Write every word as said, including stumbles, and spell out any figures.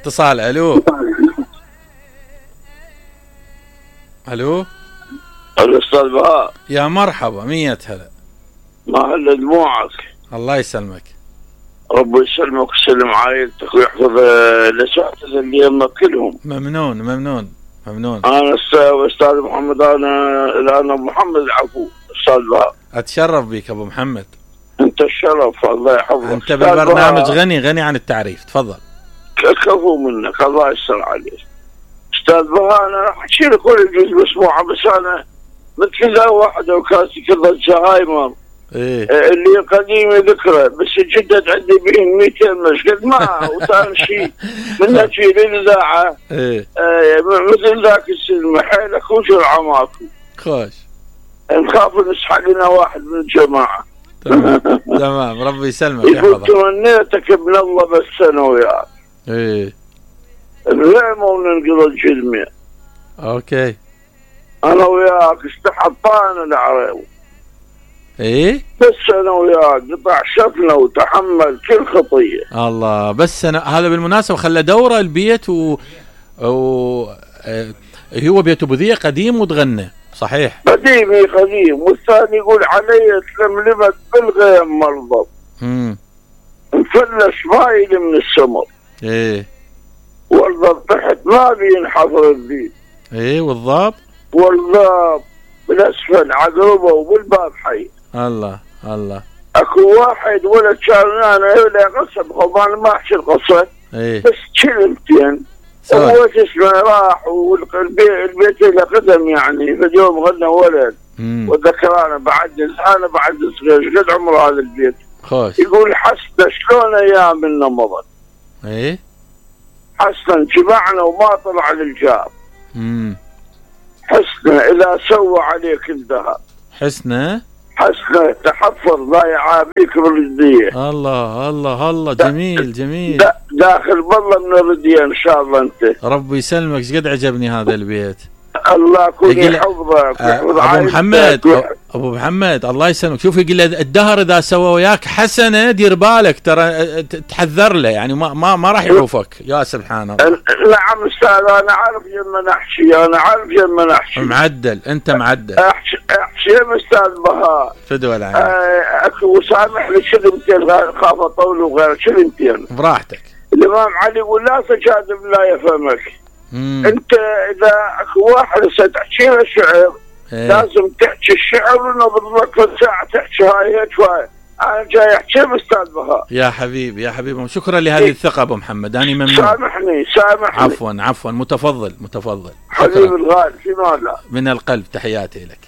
اتصال. الو الو الاستاذ بهاء، يا مرحبا، مية هلا. ما هلا دموعك. الله يسلمك. ربي يسلمك ويسلم عائلتك ويحفظ الاساتذه اللي يمك كلهم. ممنون ممنون ممنون. انا استاذ محمد، انا انا محمد العفو. استاذ بهاء، اتشرف بك ابو محمد. انت الشرف، الله يحفظك. انت بالبرنامج غني غني عن التعريف، تفضل. كفو منك، الله يستر عليك. استاذ بهاء، انا راح احكي لك كل يجوز مسموعه، بس انا مثل ذا واحده وكاسي كذا زهايمر ايه اللي قديمه ذكرى، بس جدد عندي بهم مئتين مشكل ما وثاني شيء من اجي للاذاعه. ايه آه مثل ذاك السلم حيلك وجرعه ماكو. خوش. نخاف نسحق لنا واحد من الجماعه. تمام تمام، ربي يسلمك يقول يحفظك. تمنيتك ابن الله بس انا وياك. ايه الغيمه وننقض الجلمه. اوكي. انا وياك استحطانا العريض. ايه بس انا وياك قطع شفنا وتحمل كل خطيه. الله. بس أنا هذا بالمناسبة خلى دورة البيت و, و... اه... هو بيت ابو ذيه قديم وتغنى صحيح. قديمي قديم، والثاني يقول علي تلملمت بالغيم مرضى. امم مفلش مايل من السمر. ايه والضب تحت ما بينحفر البيت. ايه والضاب والضب بالاسفل عقربه وبالباب حي. الله الله. اكو واحد ولد شارنانا ولا قصب خبان ما احكي القصه. ايه بس كلمتين هو اسمه راح، والبيت له قدم يعني. في يوم غنى ولد وذكرانا بعد انا بعد صغير قد عمر هذا البيت. خوش. يقول حسنا شلون ايامنا مضت. ايه حسنا شبعنا وما طلع للجاب. امم حسنا اذا سوى عليك الذهب. حسنا حسنا تحفظ ضايع بيك بالرديه. الله الله الله. جميل جميل. دا داخل بالله من الرديه ان شاء الله. انت ربي يسلمك، ايش قد عجبني هذا البيت. الله يكون يحفظك. ابو محمد ابو محمد الله يسلمك. شوف يقول الدهر اذا سوى وياك حسنه دير بالك ترى تحذر له، يعني ما ما, ما راح يعوفك. يا سبحان الله. نعم استاذ، انا عارف لما نحكي، انا عارف لما نحكي. معدل انت معدل. احكي احكي استاذ بهاء. فدوى العين. اكو سامحني كلمتين خاف اطول وغير كلمتين. براحتك. الامام علي يقول لا تجادل لا يفهمك. مم. انت اذا اكو واحد ستحكي له شعر ايه؟ لازم تحكي الشعر ونضرب لك ساعه تحكي هاي هيك شوي. انا جاي احكي استاذ بهاء. يا حبيبي يا حبيبي، شكرا لهذه الثقه ابو محمد، انا ممنون. سامحني سامحني. عفوا عفوا، متفضل متفضل. حبيبي الغالي، في ماذا؟ من القلب تحياتي لك.